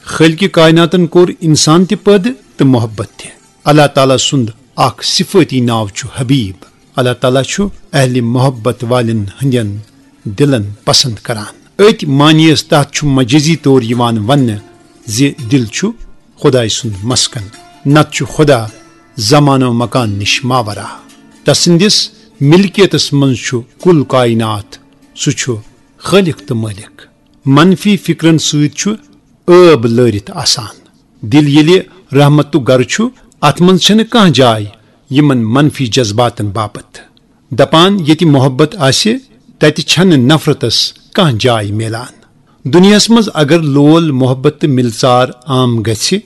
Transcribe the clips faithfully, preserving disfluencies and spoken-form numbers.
خالق کائناتن کوٚر انسان تہِ پٲدٕ تہٕ محبت تہِ۔ اللہ تعالیٰ سُنٛد اکھ صفٲتی ناو چھُ حبیب۔ اللہ تعالیٰ چھُ اہل محبت والٮ۪ن ہٕنٛدٮ۪ن دِلن پسند کران۔ أتھۍ معنیَس تحت چھُ مجازی طور یِوان وننہٕ زِ دِل چھُ خدایہِ سُنٛد مسکن، نتہٕ چھُ خدا زمان و مکان نِش ماورا۔ تسٕنٛدِس ملکیتس منٛز چھُ کُل کائنات، سُہ چھُ خالق تہٕ مٲلک۔ منفی فکرن سۭتۍ چھُ ٲب لٲرِتھ آسان۔ دِل ییٚلہِ رحمتُک گرٕ چھُ، اتھ منٛز چھنہٕ کانٛہہ جاے یِمن منفی جذباتن باپتھ۔ دپان، ییٚتہِ محبت آسہِ، تتہِ چھنہٕ نفرتس کانٛہہ جاے میلان۔ دُنیاہس منٛز اگر لول محبت تہٕ ملژار عام گژھِ،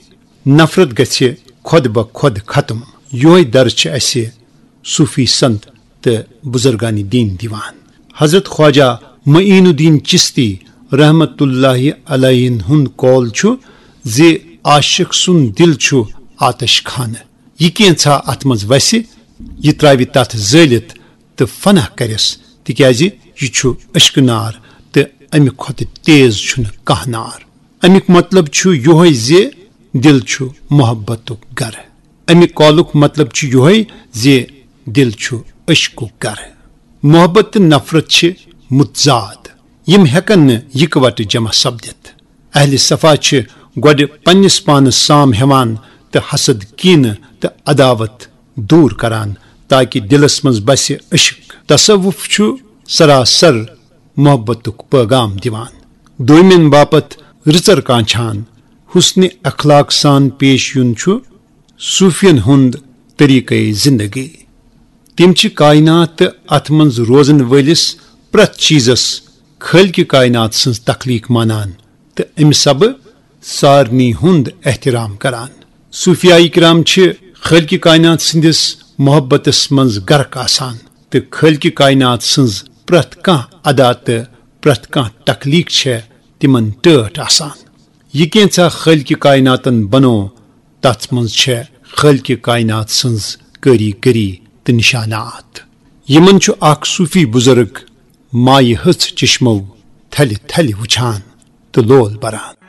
نفرت گژھِ خۄد بہ خۄد ختم۔ یۄہے درس چھِ اسہِ صوفی سنت تہٕ بزرگان دین دِوان۔ حضرت خواجہ معین الدین چشتی رحمت اللہ علیہ ہُنٛد قول چھُ زِ عاشق سُنٛد دِل چھُ آتش خانہٕ۔ یہِ کینٛژھا اتھ منٛز وسہِ، یہِ ترٛاوِ تتھ زٲلِتھ تہٕ فنا کرٮ۪س، تِکیازِ یہِ چھُ عشقہٕ نار تہٕ امہِ کھۄتہٕ تیز چھُنہٕ کانٛہہ نار۔ امیُک مطلب چھُ یۄہے زِ دِل چھُ محبتُک گرٕ۔ اَمہِ قولُک مطلب چھُ یۄہے زِ دِل چھُ عشقُک گرٕ۔ محبت تہٕ نفرت چھِ متضاد، یِم ہٮ۪کن نہٕ یِکوٹہٕ جمع سپدِتھ۔ اہل صفا چھِ گۄڈٕ پننِس پانس سام ہٮ۪وان تہٕ حسد، کینہٕ تہٕ عداوت دوٗر کران، تاکہ دِلس منٛز بسہِ عشق۔ تصوف چھُ سراسر محبتُک پیغام دِوان۔ دویمٮ۪ن باپتھ رٕژر کانچھان، حسن اخلاق سان پیش یُن چھُ صوفین ہُنٛد طریقے زندگی۔ تِم چھِ کائنات تہٕ اتھ منٛز روزن وٲلِس پرٛٮ۪تھ چیزس خالق کائنات سٕنٛز تخلیق مانان تہٕ امہِ سبہٕ سارنٕے ہُنٛد احترام کران۔ صوفیاء کرام چھِ خالق کائنات سٕنٛدِس محبتس منٛز غرق آسان تہٕ خالق کائنات سٕنٛز پرٛٮ۪تھ کانٛہہ ادا تہٕ پرٛٮ۪تھ کانٛہہ تخلیق چھےٚ تِمن ٹٲٹھ آسان۔ یہِ کینٛژھا خالق کائناتن بنوو، تتھ منٛز چھےٚ خالق کائنات سٕنٛز کٲری گٔری تہٕ نشانات۔ یِمن چھُ اکھ صوفی بزرگ مایہِ ہٕژ چشمو تھلہِ تھلہِ وُچھان تہٕ لول بران۔